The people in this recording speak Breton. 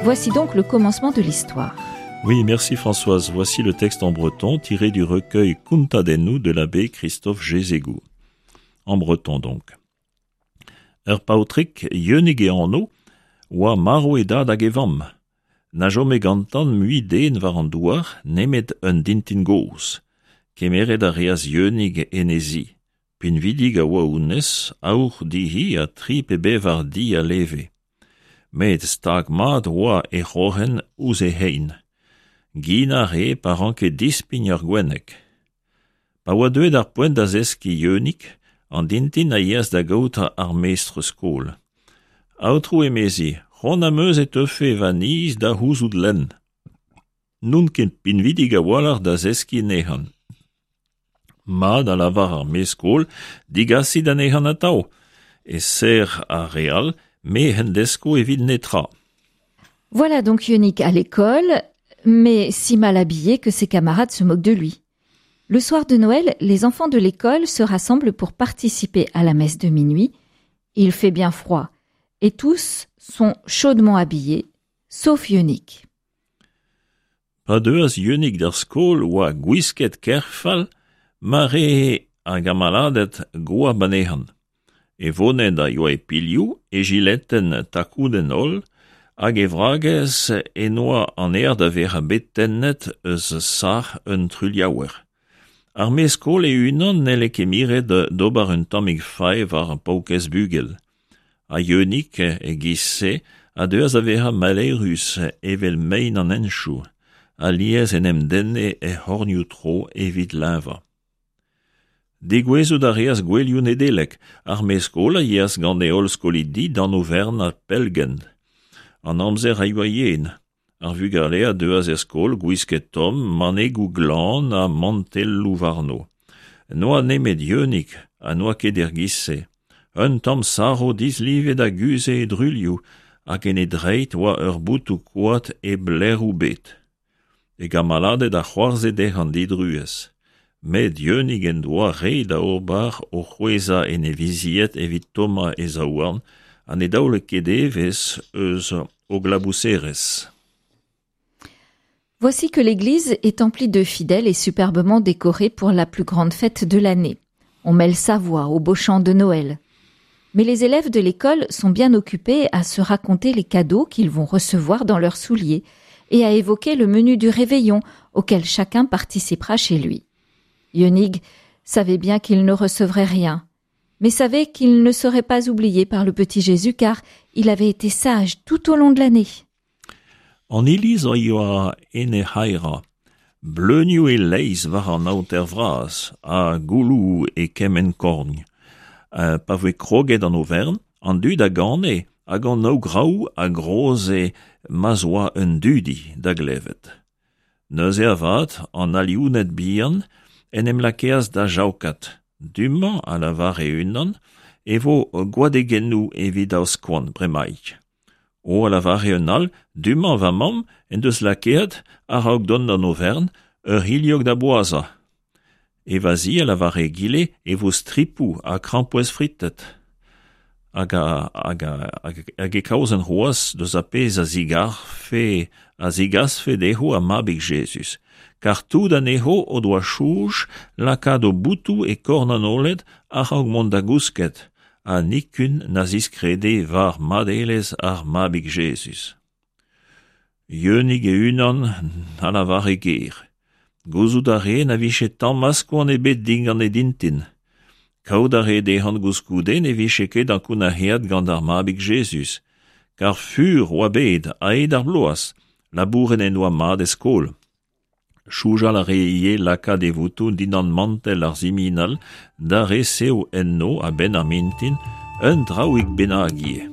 Voici donc le commencement de l'histoire. Oui, merci Françoise. Voici le texte en breton tiré du recueil Kontadennoù de l'abbé Christophe Jézégou. En breton donc. Ur paotrig Yeunig e anv oa marv e dad hag e vamm. Na chome gantan mui den war an douar nemet un dintin gozh. Kemeret a reas Yeunig en he zi. Pinvidik a oa honnezh, aour dezhi ha tri pe bevar di a leve. Met stag-mat oa he c'hroc'hen ouzh he c'hein. Gin a rae pa ranke dispign ur gwenneg. Pa oa deuet ar poent da zeskiñ Yeunig, an dintin a yeas da gaout ar mestr-skol. Aotrou, emezi, c'hoant am eus e teufe va niz da c'houzout lenn. N'on ket pinvidik a-walc'h da zeskiñ anezhañ. Mat, a lavar ar mestr-skol, digasit anezhañ atav. E-ser ar re all, me hen desko evit netra. Voilà donc Yeunig à l'école, mais si mal habillé que ses camarades se moquent de lui. Le soir de Noël, les enfants de l'école se rassemblent pour participer à la messe de minuit. Il fait bien froid et tous sont chaudement habillés, sauf Yeunig. Pa deuas Yeunig d'ar skol oa gwisket ker fall ma ree ar gamaladed goap anezhañ. E voned a yoa e pilhoù, e jiletenn takoudenn holl, hag e vragez e-noa an aer da vezañ bet tennet eus sac'h un truilhaouer. Ar mestr-skol e-unan n'helle ket miret d'ober un tammig fae war ar paourkaezh bugel. Ha Yeunig, e-giz-se, a deuas da vezañ maleürus evel mein an henchoù, alies en em denne er c'hornioù-tro evit leñvañ. Degouezhout a reas gouelioù Nedeleg, ar mestr-skol a yeas gant e holl skolidi d'an oferenn pellgent. An amzer a yoa yen. Ar vugale a deuas er skol gwisket tomm, manegoù glan ha mantelloù warno. N'oa nemet Yeunig ha n'oa ket er giz-se. Un tamm saro dislivet a guzhe e druilhoù hag en e dreid oa ur botoù-koad hep lêroù 'bet. E gamaladed a c'hoarzhe dezhañ didruez. Met Yeunig en doa re da ober o c'hwezhañ en e vizied evit tommañ e zaouarn ha ne daole ket evezh eus o glabouserezh. Voici que l'église est emplie de fidèles et superbement décorée pour la plus grande fête de l'année. On mêle sa voix au beau chant de Noël. Mais les élèves de l'école sont bien occupés à se raconter les cadeaux qu'ils vont recevoir dans leurs souliers et à évoquer le menu du réveillon auquel chacun participera chez lui. Yeunig savait bien qu'il ne recevrait rien, mais savait qu'il ne serait pas oublié par le petit Jésus car il avait été sage tout au long de l'année. An iliz a yoa en he c'haerañ, bleunioù e-leizh war an aoter vras ha gouloù e kement korn. Pa voe kroget an oferenn, an dud a gane hag an ograoù a groze ma'z oa un dudi da glevet. Neuze avat, an aliouned bihan en em lakeas da jaokat. Du-mañ, a lavare unan, e vo gwadegennoù evit aoskoan bremaik. O, a lavare un all, du-mañ va mamm en deus lakaet, a-raok dont d'an oferenn, ur c'hilhog da boazhañ. E va zi, a lavare egile, e vo stripoù ha krampouezh fritet. Hag, hag, hag e kaozen c'hoazh deus ar pezh a zigarfe, a zigasfe dezho ar Mabig Jezuz. Kar tout anezho o doa soñj lakaat o botoù e korn an oaled a-raok mont da gousket, ha nikun na ziskrede war madelezh ar Mabig Jezuz. Yeunig e-unan na lavare ger. Gouzout a rae na vije tamm askoan ebet digant e dintin. Kaout a rae dezhañ koulskoude ne vije ket ankounac'haet gant ar Mabig Jezuz, kar fur oa bet a-hed ar bloaz, labouret en doa mat e skol. Soñjal a rae ivez lakaat e votoù dindan mantell ar siminal da resev enno a-benn ar mintin un draoig bennak ivez.